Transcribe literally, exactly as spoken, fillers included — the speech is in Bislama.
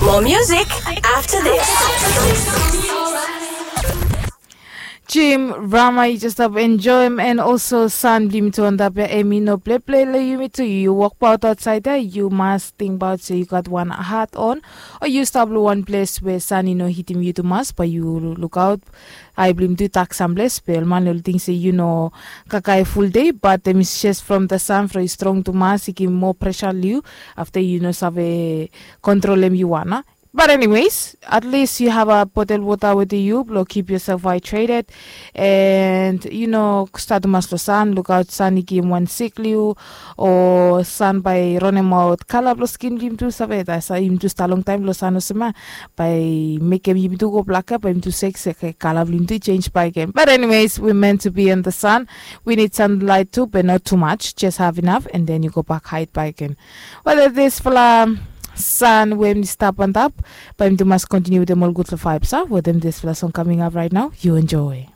More music after this. Jim Rama, yu jes stap enjoem, and also san blong yumi tu antap ya, em i no pleple long yumi tu. Yu wokbaot aotsaed ya, yu mas tingbaot se yu gat wan hat on, o yu stap long wan ples we san i no hitim yu tumas, bae yu lukaot, ai blong yumi tu tak samples, be ol man oli ting se yu no kakae fuldei, bat em i jes from the san from i strong tumas, i givim moa presa long yu, afta yu no save kontrolem yu wan. But anyways, at least yu have a botel wota wetem yu blong keep yourself hydrated, and yu no stap tumas long san, lukaot san i givim wan sik long yu, o san bae i ranemaot kala blong skin blong yumi tu, save, yumi tu stap longtaem long san olsem ya, bae i mekem yumi tu go blak ya, bae yumi tu seksek, kala blong yumi tu i jenis bakegen. But anyways, we meant to be in the sun. We need sunlight tu, be not too much, jes have enough, and then yu go bak haed bakegen. Wetem disfala san we mi stap antap, bae yumi tu mas kontiniu wetem ol gudfala vaebs ya wetem disfala song kaming ap raet nao. Yu enjoe.